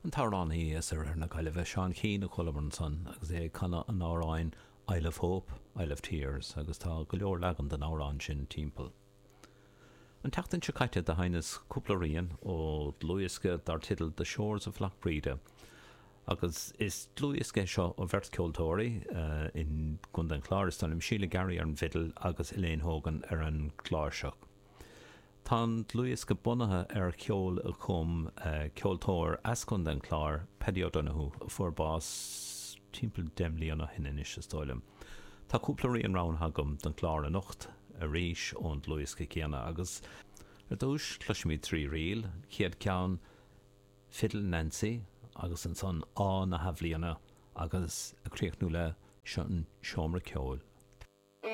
An t-amhránaí as oirthear na Gaillimhe, Seán Keane, a chualamar ansan agus é ag canadh an amhráin Isle of Hope, Isle of Tears agus tá go leor leagan den amhrán sin timpeall. An tseachtain seo caite do sheinneas cúpla rian ó dhlúthdhiosca dar teideal The Shores of Lough Breda agus is dlúthdhiosca é seo ó bheirt ceoltóirí i gContae an Chláir, is dóigh liom, Síle Garry ar an bhfidil agus Elaine Hogan ar an gcláirseach. Tá an dlúthdhiosca bunaithe ar cheol a chum ceoltóir as Contae an Chláir, Paddy O'Donoghue, a fuair bás timpeall 10 mbliana ó shin anois, is dóigh liom. Tá cúpla rian roghnaithe agam don chlár anocht arís ón dlúthdhiosca céanna agus ar dtús cloisfimid 3 ríl, an chéad ceann Fiddle Nancy agus ansan Ádh na hAthbhliana agus ag críochnú le Seo an Seomra Ceoil.